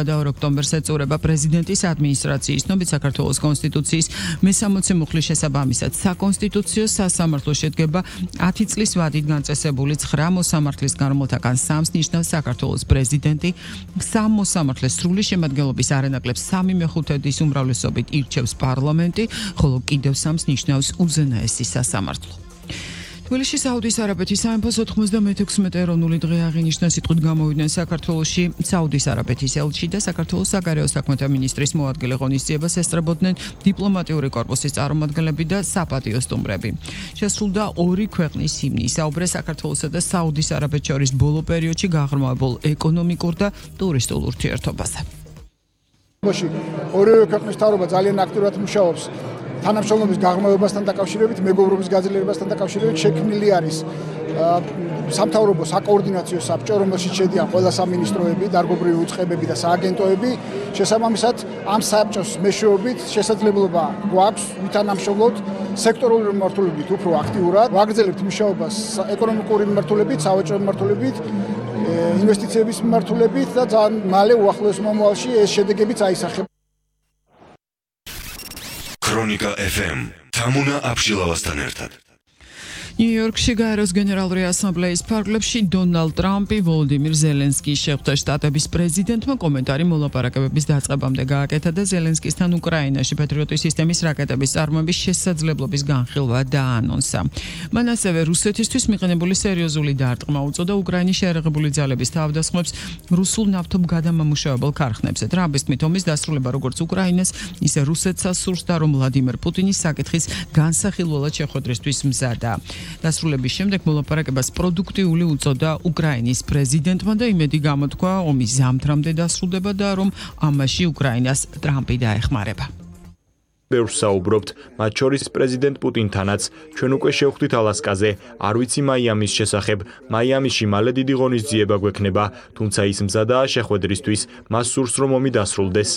და ოქტომბერს ეწურება პრეზიდენტის ადმინისტრაციის ცნობით საქართველოს კონსტიტუციის მე-60 მუხლის შესაბამისად საკონსტიტუციო სასამართლო შედგება 10 წლის ვადით განწესებული 9 მოსამართლის გარემოთაგან 3-ს ნიშნავს საქართველოს პრეზიდენტი, 3 მოსამართლეს სრული შემადგენლობის არანაკლებ 3/5 უმრავლესობით ირჩევს პარლამენტი, ხოლო კიდევ 3-ს ნიშნავს უზენაესი სასამართლო. თბილისში საუდის არაბეთის სამეფოს 96 ეროვნული დღე აღინიშნა სიტყვით გამოვიდნენ საქართველოში საუდის არაბეთის ელჩი და საქართველოს საგარეო საქმეთა მინისტრის მოადგილე ღონისძიებას ესწრებოდნენ დიპლომატიური კორპუსის წარმომადგენლები და საპატიო სტუმრები. შესრულდა ორი ქვეყნის ჰიმნი, საუბრეს საქართველოსა და საუდის არაბეთს შორის ბოლო პერიოდში გაღრმავებულ ეკონომიკურ და ტურისტულ ურთიერთობაზე. ორივე ქვეყნის მთავრობა ძალიან აქტიურად მუშაობს თანამშრომლობის გაღრმავებასთან დაკავშირებით, მეგობრობის გაძლიერებასთან დაკავშირებით შექმნილი არის სამთავრობო საკოორდინაციო საბჭო, რომელშიც შედიან ყველა სამინისტროები, დარგობრივი უწყებები და სააგენტოები. შესაბამისად, ამ საბჭოს მეშვეობით შესაძლებლობა გვაქვს ვითანამშრომლოთ სექტორული მიმართულებით უფრო აქტიურად, ვაგრძელებთ მუშაობას ეკონომიკური მიმართულებით, სავაჭრო მიმართულებით, ინვესტიციების მიმართულებით და ძალიან მალე უახლოეს მომავალში ეს შედეგებიც აისახება. Ქრონიკა FM თამუნა აბშილავასთან ერთად. ნიუ-იორკში გაეროს გენერალური ასამბლეის ფარგლებში დონალდ ტრამპი ვოლოდიმირ ზელენსკის შეხვდა შტატების პრეზიდენტმა კომენტარი მოლაპარაკებების დაწყებამდე გააკეთა და ზელენსკისთან უკრაინაში პატრიოტის სისტემის რაკეტების წარმოების შესაძლებლობის განხილვა დაანონსა. მან ასევე რუსეთისთვის მიყენებული სერიოზული დარტყმა უწოდა უკრაინის შეერაღებული ძალების თავდასხმებს რუსულ ნავთობგადამამუშავებელ ქარხნებზე. ტრამპის თქმით, ომის დასრულება როგორც უკრაინას, ისე რუსეთსაც სურს და რომ ვლადიმერ პუტინის საკითხის განსახილველად შეხვედრისთვის მზადაა. დასრულების შემდეგ მოლაპარაკებას პროდუქტიული უწოდა უკრაინის პრეზიდენტმა და იმედი გამოთქვა ომის ზამთრამდე დასრულდება და რომ ამაში უკრაინას ტრამპი დაეხმარება. ბევრს საუბრობთ, მათ შორის პრეზიდენტ პუტინთანაც. ჩვენ უკვე შევხვდით ალასკაზე, არ ვიცი მაიამის შესახებ. მაიამიში მალე დიდი ღონისძიება გვექნება, თუმცა ის მზადაა შეხვედრისთვის, მას სურს რომ ომი დასრულდეს.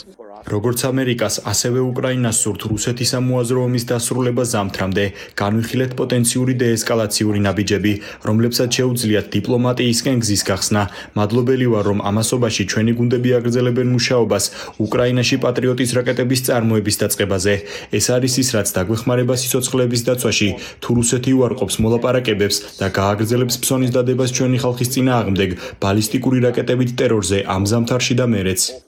როგორც ამერიკას, ასევე უკრაინას სურთ რუსეთის ამოაზრო ომის დასრულება ზამთრამდე, განვიხილეთ პოტენციური დეესკალაციური ნაბიჯები, რომლებსაც შეუძლიათ დიპლომატიისკენ გზის გახსნა. მადლობელი ვარ, რომ ამასობაში ჩვენი გუნდები აგრძელებენ მუშაობას უკრაინაში პატრიოტის რაკეტების წარმოების დაწყებაზე. ეს არის ის, რაც დაგვეხმარება სიცოცხლეების დაცვაში, თუ რუსეთი უარყოფს მოლაპარაკებებს და გააგრძელებს ფსონის დადებას ჩვენი ხალხის წინააღმდეგ, ბალისტიკური რაკეტებით ტერორზე ამ ზამთარში და მერეც.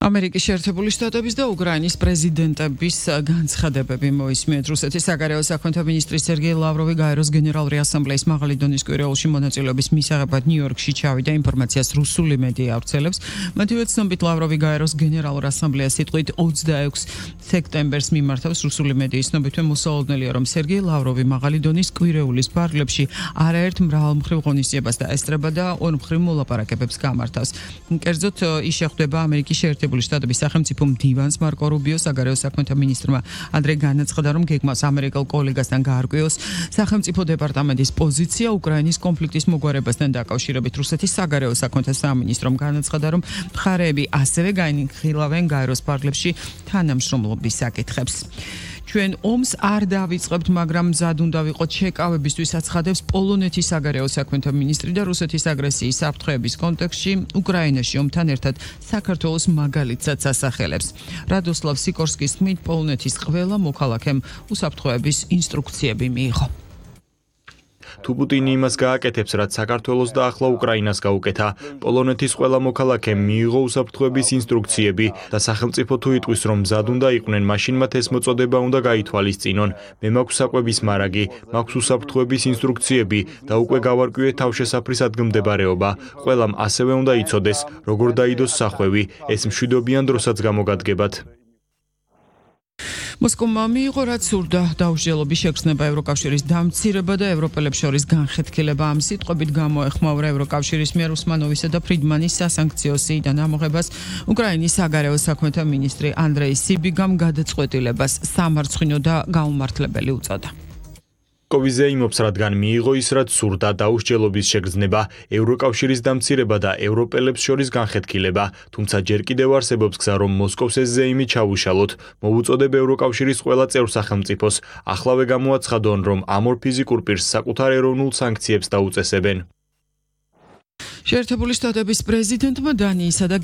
ამერიკის შეერთებული შტატების და უკრაინის პრეზიდენტების განცხადებები მოისმენთ. რუსეთის საგარეო საქმეთა მინისტრი სერგეი ლავროვი გაეროს გენერალური ასამბლეის მაღალი დონის კვირეულში მონაწილეობის მისაღებად ნიუ-იორკში ჩავიდა. ინფორმაციას რუსული მედია ავრცელებს. მათივე ცნობით ლავროვი გაეროს გენერალურ ასამბლეას სიტყვით 26 სექტემბერს მიმართავს. რუსული მედიის ცნობით მოსალოდნელია, რომ სერგეი ლავროვი მაღალი დონის კვირეულის ფარგლებში არაერთ მრავალმხრივ ღონისძიებას დაესწრება და ორმხრივ მოლაპარაკებებს გამართავს. კერძოდ ის შეხვდება ამერიკის შეერთებული შტატების სახელმწიფო მდივანს მარკო რუბიოს, საგარეო საქმეთა მინისტრმა ადრე განაცხადა, რომ გეგმას ამერიკელ კოლეგასთან გაარკვიოს სახელმწიფო დეპარტამენტის პოზიცია უკრაინის კონფლიქტის მოგვარებასთან დაკავშირებით. რუსეთის საგარეო საქმეთა სამინისტრომ განაცხადა, რომ მხარეები ასევე განიხილავენ გაეროს ფარგლებში თანამშრომლობის საკითხებს. ჩვენ ომს არ დავიწყებთ, მაგრამ მზად უნდა ვიყოთ შეკავებისთვის, აცხადებს პოლონეთის საგარეო საქმეთა მინისტრი და რუსეთის აგრესიის საფრთხეების კონტექსტში უკრაინაში ომთან ერთად საქართველოს მაგალითსაც ასახელებს. რადოსლავ სიკორსკის თქმით, პოლონეთის ყველა მოქალაქემ უსაფრთხოების ინსტრუქციები მიიღო. თუ პუტინი იმას გააკეთებს, რაც საქართველოს და ახლა უკრაინას გაუკეთა, პოლონეთის ყველა მოქალაქემ მიიღო უსაფრთხოების ინსტრუქციები და სახელმწიფო თუ იტყვის, რომ მზად უნდა იყვნენ, მაშინ მათ ეს მოწოდება უნდა გაითვალისწინონ. მე მაქვს საკვების მარაგი, მაქვს უსაფრთხოების ინსტრუქციები და უკვე გავარკვიეთ თავშესაფრის ადგილმდებარეობა. ყველამ ასევე უნდა იცოდეს, როგორ დაიდოს სახვევი, ეს მშვიდობიან დროსაც გამოგადგებათ. მოსკოვმა მიიღო, რაც სურდა, დაუსჯელობის შეგრძნება, ევროკავშირის დამცირება და ევროპელებს შორის განხეთქილება. ამ სიტყვებით გამოეხმაურა ევროკავშირის მიერ უსმანოვისა და ფრიდმანის სასანქციო სიიდან ამოღებას უკრაინის საგარეო საქმეთა მინისტრი ანდრეი სიბიგამ გადაწყვეტილებას სამარცხვინო და გაუმართლებელი უწოდა. კოვიზე იმობს, რადგან მიიღო ის, რაც სურდა, დაუსჯელობის შეგრძნება, ევროკავშირის დამცირება და ევროპელებს შორის განხეთქილება, თუმცა ჯერ კიდევ არსებობს გზა, რომ მოსკოვს ეს ზეიმი ჩაუშალოთ. მოვუწოდებ ევროკავშირის ყველა წევრ სახელმწიფოს, ახლავე გამოაცხადონ, რომ ამ ორ ფიზიკურ პირს საკუთარ ეროვნულ სანქციებს დაუწესებენ. შეერთებული შტატების პრეზიდენტმა დანიისა და